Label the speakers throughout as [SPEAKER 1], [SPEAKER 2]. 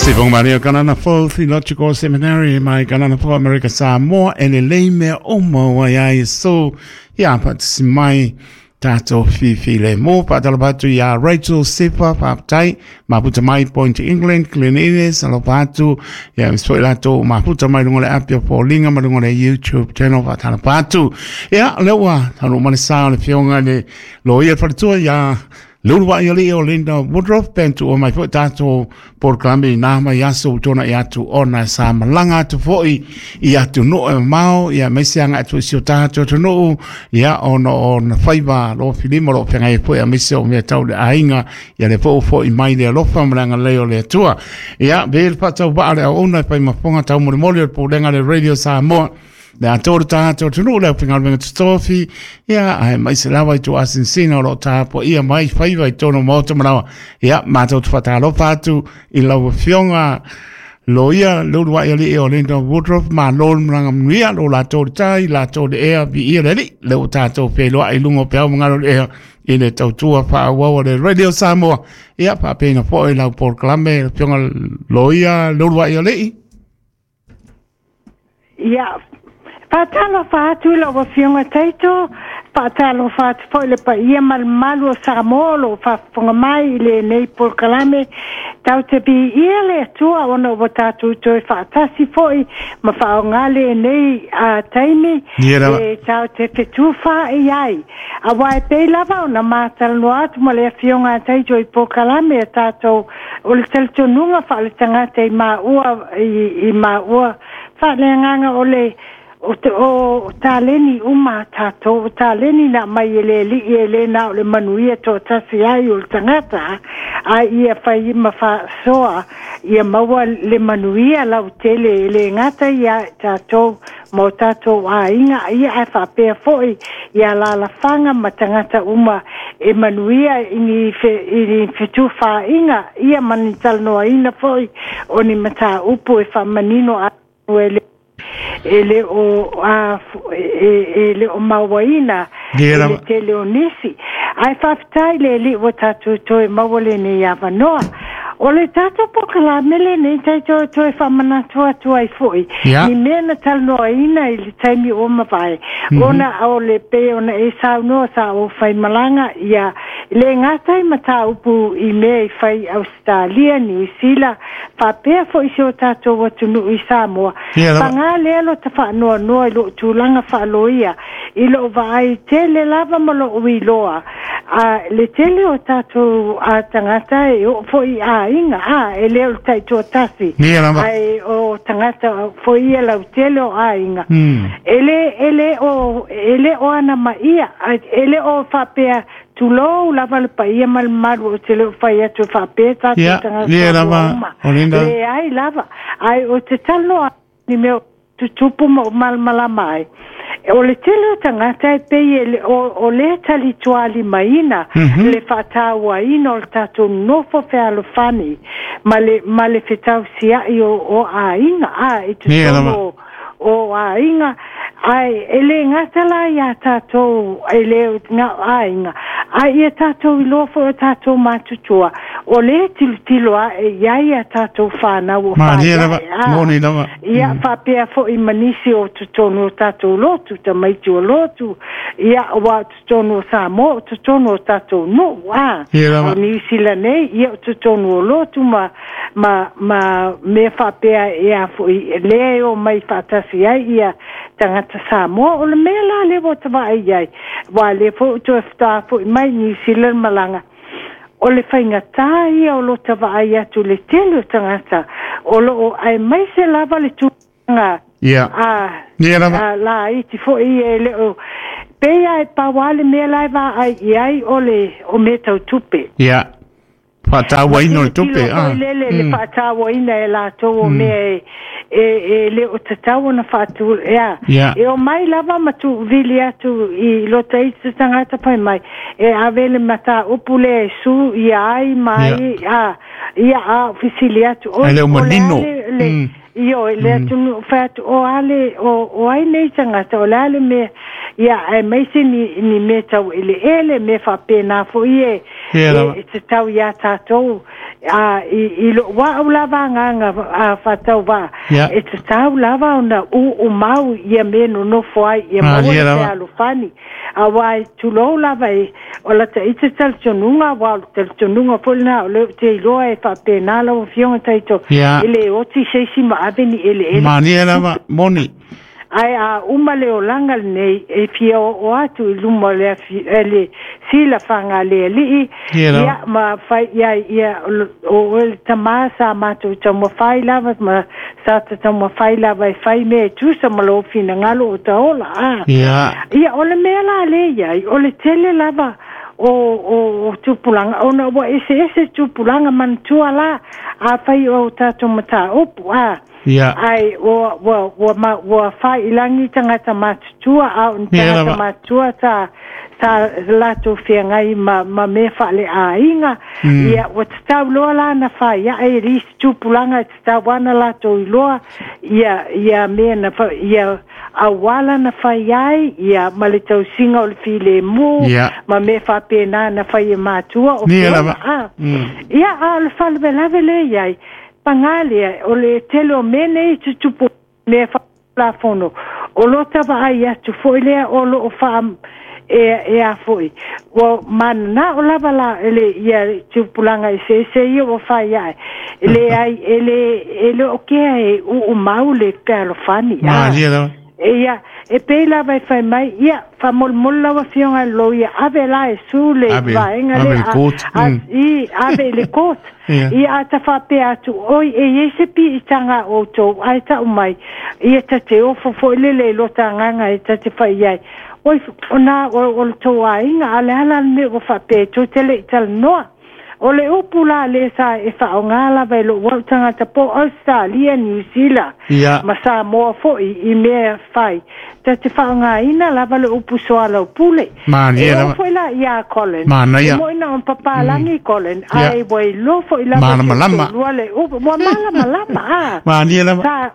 [SPEAKER 1] Sifong Maria Kanana Fo Theological Seminary mai Kanana Fo Amerika Samoa e le lei mea uma ua ia Iesu ia faatasi mai tatou fifi le mo faatalofa atu iā Rachel Sefa faafetai mafuta mai Point England Glen Innes alofa atu ia aemaise foi latou mafuta mai luga o le api o Foliga ma luga o le YouTube channel faatalofa atu ia lea ua taunuu mai le sa o le afioga i le loia faletua iā Leuluai alii o Linda Woodruff pe tuua mai foi tatou polokalame i nā mai aso ua tuanai atu ona sa malaga atu foi i atunuu e mamao ia aemaise agai atu i si o tatou atunuu ia ona o na faiva lofilima o lo o feagai ai foi aemaise o mea tau le aiga ia lea foi ua foi mai le alofa ma le agalelei o le Atua. Ia be le faatauvaa le auauna e fai ma fofoga taumolimoli o le Pulega a le Radio Samoa Le atoa o le tagata o atunuu le aufaigaluega totofi, ia, aemaise lava i tuuasinasina o lo o tapuaia mai faiva i totonu o Maota Manawa. Ia, matou te faatalofa atu i lau Afioga Loia Leuluai Alii o Linda Woodruff, malo le malaga manuia, lo latou le tai, latou le ea, viia le Alii, lea ua tatou feiloai i luga o peau ma galu o le ea i le tautua faaauau a le Radio Samoa. Ia, faapena foi lau polokalame, Afioga Loia Leuluai Alii.
[SPEAKER 2] Ia, faatalofa atu i lau Afioga Taito, faatalofa atu foi i le paia ma le mamalu o Samoa o lo o faafofoga mai i lenei polokalame. Tatou te viia le Atua ona ua tatou toe faatasi foi ma faaaoga lenei taimi e tatou te fetufaai ai. Aua e pei lava ona ma talanoa atu ma le Afioga a Taito i polokalame a tatou o le talitonuga faaletagata i maua i maua faaleagaga o le o te o taleni uma a tatou, o taleni na aumai e le Alii e le na o le manuia toatasi ai o le tagata, a ia fai ma faasoa ia maua le manuia lautele e le gata ia tatou ma o tatou aiga, ia ae faapea foi i alaalafaga ma tagata uma e manuia i ni i ni fetufaaiga, ia ma ni talanoaina foi o ni mataupu e faamanino atu e le e le o a e le o mauaina i le tele o nisi. Ae faafetai i le Alii ua tatou toe maua lenei avanoa. O le tatou polokalame lenei tatou toe faamanatu atu ai foi ni mea na talanoaina i le taimi ua mavae, ona o le pei ona e saunoa sa ou faimalaga ia le gata i mataupu i mea i fai i Ausetalia, Niu Sila, faapea foi si o tatou atunuu i Samoa. Paga lea lota faanoanoa i lou tulaga faaloia i lou vaai tele lava ma lou iloa a le tele o tatou a tagata e oo foi i aiga a e le o le taitoatasi ae o tagata foi ia lautele o aiga e le e le o e le o anamaia e le o faapea tulou lava le paia ma le mamalu ou te le o fai atu e faapea tatou tagata uma leai lava ae ou te talanoa ni mea tutupu ma ou malamalama ai. O le tele o tagata e pei e le, o, o lea talitualimaina le faatauaina o le tatou nofo fealofani ma le, ma le fetausiai o, o aiga, a, i totonu o, o aiga, ae e le gata la iā tatou, e le na o aiga, ae ia tatou iloa foi o tatou matutua, o lea e tilotilo ae i ai a tatou whānau o
[SPEAKER 1] Malie lava, moni lava.
[SPEAKER 2] Ia, faapea foi ma nisi o totonu o tatou lotu, tamaiti o lotu, ia, ua o totonu o Samoa, o totonu o tatou nuu, a.
[SPEAKER 1] Ia lava.
[SPEAKER 2] O Niu Sila nei, ia, o totonu o lotu ma, ma, ma mea faapea e a foi, lea e omai faatasi ai ia tagata Samoa. O le mea la lea ua ta vaai i ai, aua o lea foi ua toe faatoa foi mai Niu Sila le malaga, O le faigata ia o lota vaai atu i le tele o tagata o lo o aemaise lava le tulaga a
[SPEAKER 1] a
[SPEAKER 2] laiti foi ia e le o pei lava e pau lava le mea la e vaai i ai o le o mea tau tupe.
[SPEAKER 1] Ia. Faatauaina o le tupe.
[SPEAKER 2] Tilotilo foi lele le faatauaina e latou o mea e e le o tatau ona faatu, ea, e omai lava ma tuuvili atu i lota isi tagata fai mai, e ave le mataupu lea e su ia ai ma ai, a, ia, a o fesili atu, oi,
[SPEAKER 1] Ae le o
[SPEAKER 2] o le a
[SPEAKER 1] manino.
[SPEAKER 2] le, le, ioe, le atunuu, fai atu, o a le, o, o ai nei tagata, o le a le mea, ia, aemaise ni, ni mea tau eleele, mea faapena foi e,
[SPEAKER 1] Ia lava.
[SPEAKER 2] e tatau iā tatou. A i lo'u a'u lava agaga faatauvaa e tatau lava ona uumau ia mea nonofo ai ia maua le fealofani auā e tulou lava e o lata ita talitonuga auā o le talitonuga foi lenā o lea ou te iloa e faapena lau Afioga Taito e lē oti se isi ma ave ni eleele.
[SPEAKER 1] Malie lava moni.
[SPEAKER 2] Ae a uma le olaga lenei, e fia oo atu i luma o le afi, le silafaga a le Alii, ia, ma fai i ai, ia, o oe le Tama sa matou taumafai lava, ma sa ta taumafai lava e fai mea e tusa ma lou finagalo o ta ola, a. Ia, o le mea la lea i ai, o le tele lava o, o, o tupulaga, ona ua eseese tupulaga manatua la, afai o tatou mataupu, a. Ae ua, ua, ua, ma, ua fai i lagi tagata matutua, a o ni tagata matutua sa, sa latou feagai ma, ma mea faaleaiga. Ia, ua tatau loa la na faiaʻe e le isi tupulaga e tatau ana latou iloa ia, ia mea na fa, ia auala na fai ai, ia ma le tausiga o le filemu, ma mea faapena na fai e matua o feola, a. Ia, a o le faalavelave lea i ai, pagā lea, o le tele o mea nei tutupu mea faatulafono, o lo ta vaai atu foi lea o loo faa e e a foi ua mananao lava la le ia tupulaga eseese ia ua fai ae e leai e le e le o kea e uumau le fealofani a.
[SPEAKER 1] Malie lava.
[SPEAKER 2] Ia, e pei lava e fai mai, ia, faamolemole lau Afioga i le loia, ave la e su le
[SPEAKER 1] Ave,
[SPEAKER 2] vaega
[SPEAKER 1] ave
[SPEAKER 2] lea,
[SPEAKER 1] le
[SPEAKER 2] a,
[SPEAKER 1] court.
[SPEAKER 2] a, i, ave i le court. Ia, a ta faapea atu, oi, e i ai se piitaga a outou, ae tau mai, ia ta te ofo foi lele i lota agaga e ta te fai i ai. Oi, ona o, o le tou aiga, a o le a la le mea ua faapea e tou te le i talanoa? O le upu la lea sa e faaaoga lava e lo'u au tagata po o Ausetalia, Niu Sila ma Samoa foi i mea fai, ta te faaaogaina lava le upu soalaupule.
[SPEAKER 1] Malie
[SPEAKER 2] E oo
[SPEAKER 1] lava.
[SPEAKER 2] foi la iā Colin, e
[SPEAKER 1] Manaia.
[SPEAKER 2] mo'i na ona papalagi Colin, ae ua iloa foi lava e si ou
[SPEAKER 1] Malamalama.
[SPEAKER 2] toalua le upu, ua malamalama a.
[SPEAKER 1] Malie lava.
[SPEAKER 2] Sa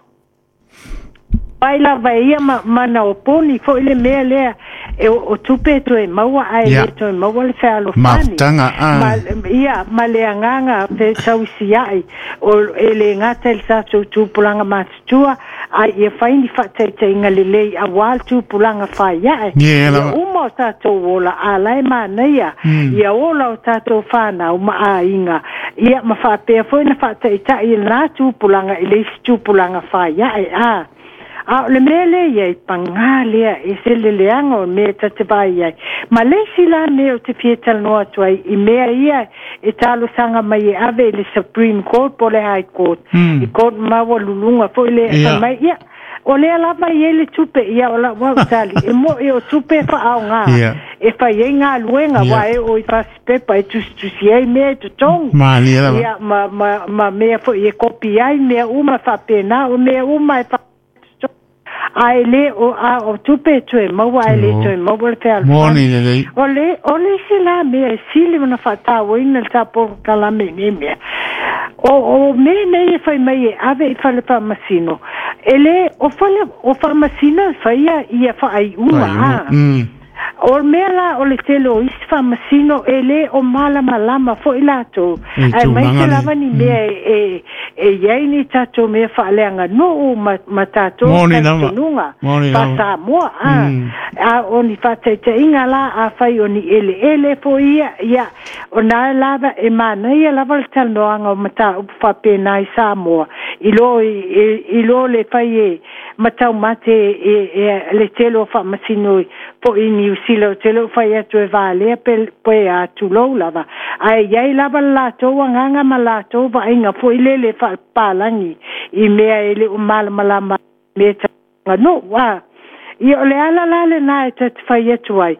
[SPEAKER 2] ai lava e ia ma, ma na oponi foi le mea lea e o, o tupe e toe maua ae le toe maua le fealofani.
[SPEAKER 1] Mafutaga a.
[SPEAKER 2] Ma, ia, ma le agaga fesaisia'i o e lē gata i le tatou tupulaga matutua ae ia fai ni faataitaiga lelei auā le tupulaga faiaʻe
[SPEAKER 1] Ie
[SPEAKER 2] ia
[SPEAKER 1] lava.
[SPEAKER 2] uma o tatou ola a lae manaia ia ola o tatou fanau ma aiga ia ma faapea foi na faataitaʻi i lenā tupulaga i le isi tupulaga faiaʻe a. A o le mea lea i ai, pagā lea e se le leaga o mea ta te vaai ai. Ma le isi la mea ou te fia talanoa atu ai i mea ia e talosaga mai e ave i le Supreme Court po o le High Court, i court maualuluga foi lea e fai mai, ia, o lea lava e i ai le tupe, ia o lau au tali, e mo'i o tupe e faaaogā e fai ai galuega, aua e oo i fasipepa e tusitusi ai mea e totogi.
[SPEAKER 1] Malie lava.
[SPEAKER 2] Ia, ma, ma, ma mea foi e kopi ai mea uma faapena, o mea uma e fa ae lē o a o tupe e toe maua ae lē toe maua le fealofani.
[SPEAKER 1] Moni lelei.
[SPEAKER 2] O le o le isi la mea e sili ona faatauaina le ta polokalame i nei mea. O o mea nei e fai mai e ave i fale faamasino. E lē o fale o faamasino e faia ia faaiuga a. O le mea la o le tele o isi faamasino e lē o malamalama foi latou
[SPEAKER 1] I
[SPEAKER 2] aemaise
[SPEAKER 1] tulaga le
[SPEAKER 2] lava ni mea e e i ai ni tatou mea faaleaganuu ma, ma tatou
[SPEAKER 1] Moni lava.
[SPEAKER 2] talitonuga
[SPEAKER 1] Moni lava.
[SPEAKER 2] faa-Samoa a. A o ni faataitaiga la afai o ni eleele foi ia, ia ona lava e manaia lava le talanoaga o mataupu faapena i Samoa i lo i, i, i lo le fai e mataumate e, e, le tele o faamasino foi i Niu Sila o te le o fai atu e valea pe, pe a tulou lava ae i ai lava le latou agaga ma latou vaaiga foi lele faapapalagi i mea e le o malamalama mea aganuu a. Ia o le ala la lenā e ta te fai atu ai,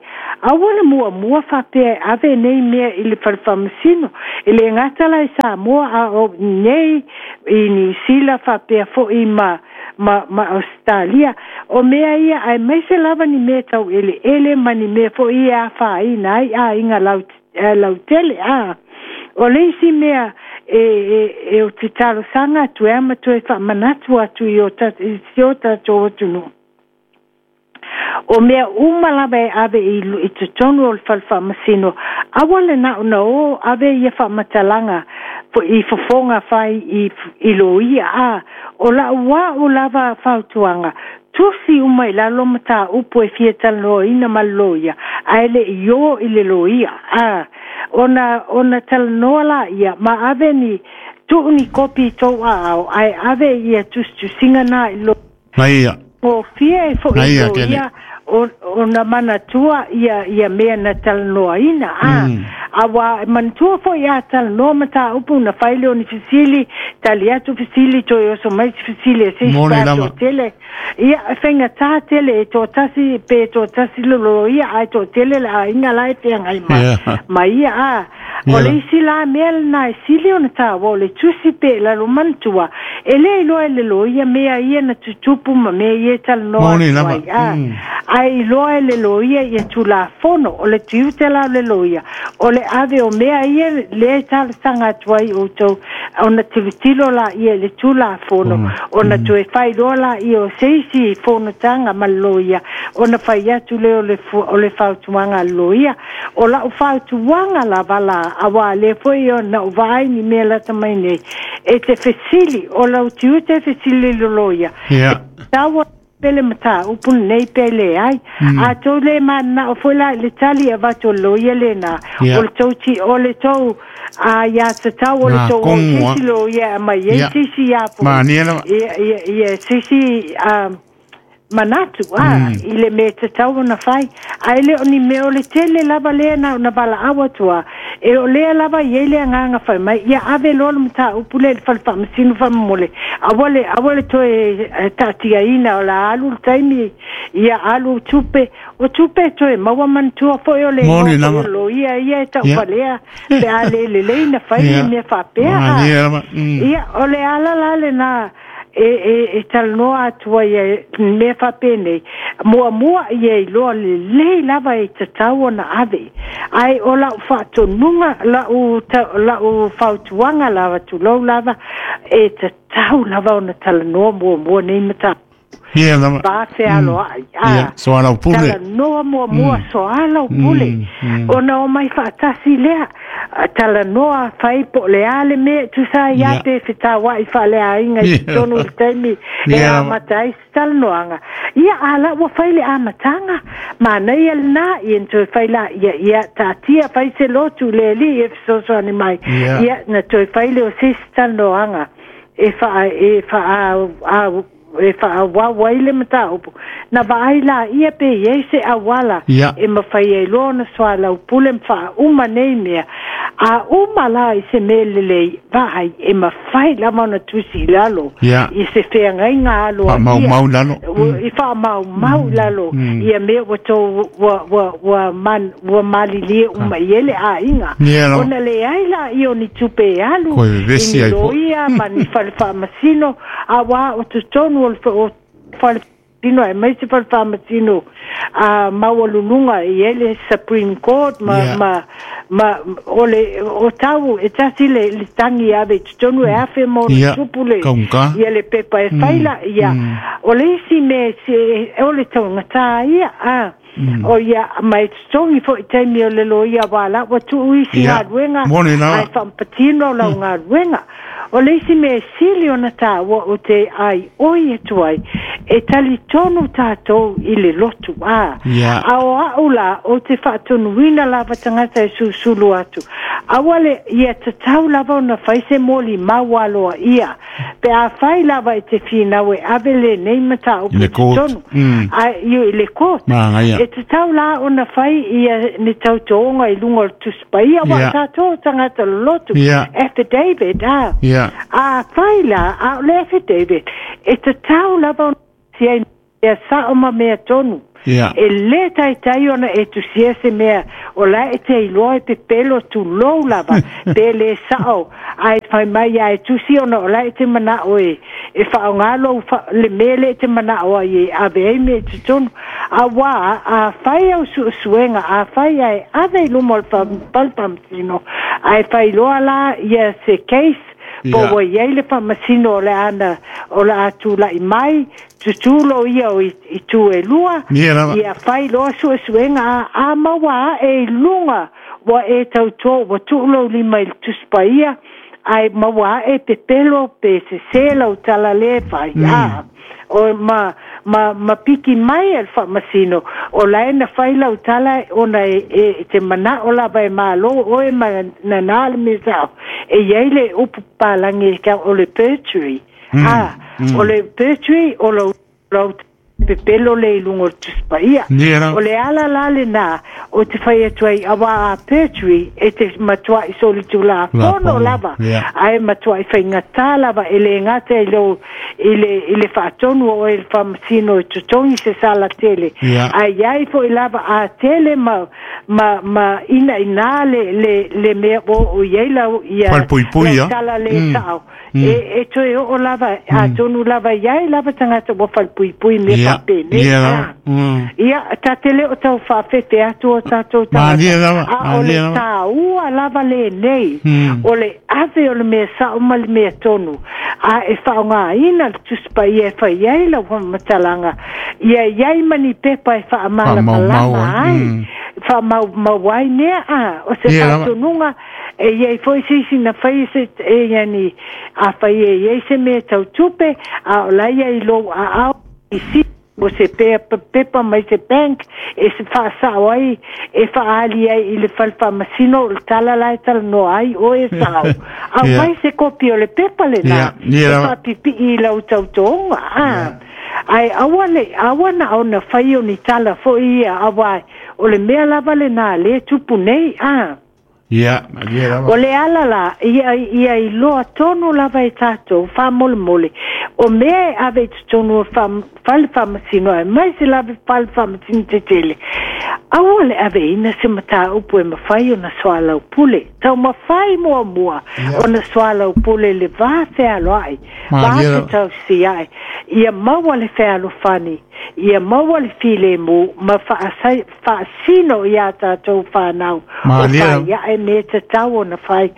[SPEAKER 2] aua le muamua faapea e ave nei mea i le fale faamasino e lē gata la i Samoa a o nei i Niu Sila faapea foi ma ma, ma Ausetalia. O mea ia aemaise lava ni mea tau eleele ma ni mea foi ia e afaina ai aiga lau, lautele a. O le isi mea e, e, e o te talosaga atu e ama toe faamanatu atu i o ta, i si o tatou atunuu. O mea uma lava e ave i, i totonu o le fale faamasino, aua le na ona o ave ia faamatalaga I fofoga fai i loia a o la'u a'u lava fautuaga tusi uma i lalo mataupu e fia talanoaina ma le loia ae le'i ō i le loia a ona talanoa laia ma ave ni tuu ni kopi i tou aao ae ave ia tusitusiga na i lo
[SPEAKER 1] Maia.
[SPEAKER 2] gofie e fo'i
[SPEAKER 1] Maia, Kele.
[SPEAKER 2] loia ona manatua ia mea na talanoaina a auā e manatua fo'i a talanoa mataupu na fai le o ni fesili tali atu fesili toe oso mai se fesili e seisi
[SPEAKER 1] Moni
[SPEAKER 2] pa
[SPEAKER 1] lava.
[SPEAKER 2] toatele ia e faigatā tele e toatasi pe toatasi le loia ae toatele le aiga la e feagai ma ma ia a o le isi la mea lenā e sili ona tāua o le tusi pe lalo manatua e lē iloa e le loia mea ia na tutupu ma mea ia e talanoa
[SPEAKER 1] Moni
[SPEAKER 2] atu
[SPEAKER 1] lava.
[SPEAKER 2] ai a ae iloa e le loia ia tulafono o le tiute la o le loia o le ave o mea ia lea e talosaga atu ai outou ona tilotilo laia i le tulafono ona toe failoa laia o se isi fonotaga ma le loia ona fai atu lea o le fautuaga a le loia o la'u fautuaga lava la auā lea foi ona ou vaai ni mea lata mai nei e te fesili o lau tiute e fesili i le loia taua pele mataupu lenei pe leai a tou lē mananao foi la i le tali e avatu o le loia lenā o le tou ti o le tou a iā tatau o le
[SPEAKER 1] Na
[SPEAKER 2] tou o
[SPEAKER 1] kongo,
[SPEAKER 2] sisi loia e aumai ai sisi ia
[SPEAKER 1] Mania lava.
[SPEAKER 2] ia sisi manatu a i le mea tatau ona fai ae le o ni mea o le tele lava lea na ona valaau atu a e o lea lava i ai le agaga fai mai ia ave loa le mataupu lea i le fale faamasino faamomole aua le toe taatiaina o la alu le taimi ia alu tupe o tupe e toe maua manatua foi o le
[SPEAKER 1] Moni
[SPEAKER 2] igoa foi
[SPEAKER 1] lava.
[SPEAKER 2] o loia ia e tauvalea pe a le lelei na fai ni mea faapea a
[SPEAKER 1] Mania lava.
[SPEAKER 2] Ia o le ala la lenā e talanoa atu ai e mea faapenei muamua ia iloa lelei lava e tatau ona ave ae o la'u faatonuga la'u fautuaga lava tulou lava e tatau lava ona talanoa muamua nei mataupu
[SPEAKER 1] Ia lava.
[SPEAKER 2] va fealoa'i a
[SPEAKER 1] So ala pule.
[SPEAKER 2] talanoa muamua soala o pule ona o mai faatasi lea talanoa fai po o le a le mea e tusa ai a pe fetaua'i faaleaiga i totonu i le taimi e amata ai se talanoaga ia a la ua fai le amataga manaia lenā ia na toe fai laia ia taatia fai se lotu le alii e fesoasoani mai ia na toe fai le o se isi talanoaga e faa e faa a e faaauau ai le mataupu na vaai laia pe iai se auala e mafai ai loa ona soalaupule ma faauma nei mea a uma la i se mea lelei vaai e mafai lava ona tusi i lalo i se feagaiga aloaia
[SPEAKER 1] Faamaumau lalo.
[SPEAKER 2] I faamaumau i lalo ia mea ua tou ua malilie uma i ai le aiga
[SPEAKER 1] Ia lava.
[SPEAKER 2] ona leai laia o ni tupe e alu
[SPEAKER 1] Koe
[SPEAKER 2] i
[SPEAKER 1] vevesi
[SPEAKER 2] ni
[SPEAKER 1] ai po.
[SPEAKER 2] loia ma ni fale faamasino auā o totonu o le o fale tino e mai se fale faamasino a maualuluga i ai le Supreme Court ma ma ma o le o tau e tasi le tagi ave i totonu e afe ma ona tupu le
[SPEAKER 1] Kaunga.
[SPEAKER 2] ia le pepa e faila ia o le isi mea se o le taugatā ia a o ia ma e totogi fo'i taimi o le loia uā la ua tuu isi galuega
[SPEAKER 1] Moni lava.
[SPEAKER 2] ae faapatino lau galuega o le isi mea e sili ona tāua o te ai oi atu ai e talitonu tātou i le lotu a a o a'u la o te faatonuina lava tagata e susulu atu aua le ia tatau lava ona fai se moli maualoa ia pe a fai lava e te finau e ave lenei mataupu
[SPEAKER 1] I le court.
[SPEAKER 2] totonu a i le court
[SPEAKER 1] Magaia.
[SPEAKER 2] e tatau la ona fai ia ni tautoga i luga o le tusi paia ua tatou tagata lolotu affidavit a a fai la a o le affidavit e tatau lava ona sia mea sa'o ma mea tonu e lē taitai ona e tusia se mea o la e te iloa e pepelo tulou lava pe lē sa'o ae fai mai ae tusi ona o la e te mana'o e faaaogā lou le mea le e te mana'o ai e ave ai mea i totonu auā a fai au su'esuega a fai ae ave i luma o le falefaamasino ae failoa la ia se case po ua iai le faamasino o le ana o le a tula'i mai tutū lo ia o i tu e lua
[SPEAKER 1] Ia lava.
[SPEAKER 2] ia fai loa su'esu'ega a maua a'e i luga ua e tautuā ua tuu lou lima i le tusi paia Ae maua ae pepelo pe sese lau tala lē fai a o ma piki mai e le faamasino o lae na fai lau tala ona e te manao lava e malo oe ma nanā le mea sa'o e iai le upu papalagi e o le perjury a o le perjury o lou pepelo le i luga o le Tusi Paia. O le ala la lenā o te fai atu ai auā a perjury e te matua'i solitulafono lava ae matua'i faigata lava e lē gata i lou i le i le faatonu o oe e le faamasino e totogi se sala tele ae iai fo'i lava a tele ma ma ma inainā le le le mea ua oo i ai lau ia lau tala lē sa'o e toe oo lava atonu lava i ai lava tagata ua falepuipui i mea faapenei. Ia, ta te le o tau faafefe atu o tatou tagata, a o le tāua lava lenei, o le ave o le mea sao ma le mea tonu, a e faaaogaina le Tusi Paia e fai ai lau faamatalaga, ia i ai ma ni pepa e faamalamalama ai, faamaumau ai mea, a o se faatonuga. E i ai foi se isi na fai se e yani afai e i ai se mea tau tupe a o la ia i lou aao i si o se pepa mai se bank e se faasao ai e faaali ai i le fale faamasino o le tala la e talanoa ai oe e sao aumai se kopi o le pepa lena e faapipii i lau tautoga a ae aua le aua na ona fai o ni tala foi ia auā o le mea lava lena lea e tupu nei a.
[SPEAKER 1] Ia, malie lava.
[SPEAKER 2] O le ala la, ia, ia iloa tonu lava e tatou, faamolemole, o mea e ave i totonu o le fale faamasino aemaise lava i fale faamasino tetele, aua le aveina se mataupu e mafai ona soalaupule. Taumafai muamua ona soalaupule i le va fealoai, va fetausiai, ia maua le fealofani, ia maua le filemu ma faasino iā tatou fanau o fai ae mea tatau ona fai,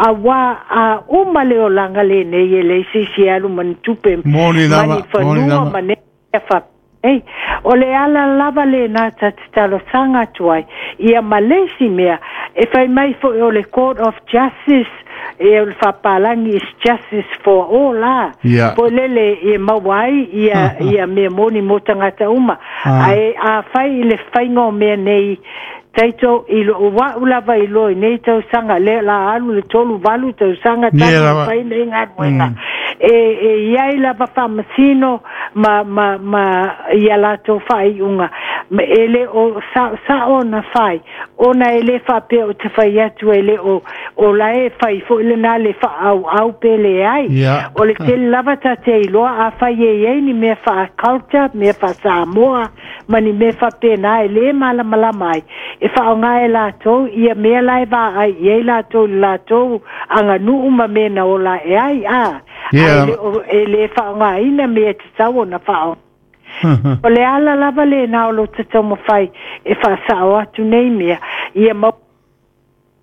[SPEAKER 2] auā a uma le olaga lenei e leai se isi e alu ma ni tupe ma ni fanua ma mea faapenei. O le ala lava lenā ta te talosaga atu ai ia ma le isi mea e fai mai foi o le Court of Justice e o le faapalagi is justice for all a foi lele e maua ai ia ia mea moni mo tagata uma. Ae afai i le faiga o mea nei taito i lou a'u lava iloa i nei tausaga lea la alu le 38 tausaga talu ona fai nei galuega e e iai lava faamasino ma ma ma ia latou faaiuga e le o saosao ona fai ona e le faapea ou te fai atu e le o o la e fai foi lena le faaauau pe leai. O le tele lava ta te iloa afai e i ai ni mea faa-culture, mea faa-Samoa ma ni mea faapena e le malamalama ai, e faaaoga e latou ia mea la e vaai i ai latou i le latou aganuu ma mea na ola ae ai, a, ae le o, e le faaaogaina mea e tatau ona faaaoga. O le ala lava lena o lo ta taumafai e faasao atu nei mea, ia maua.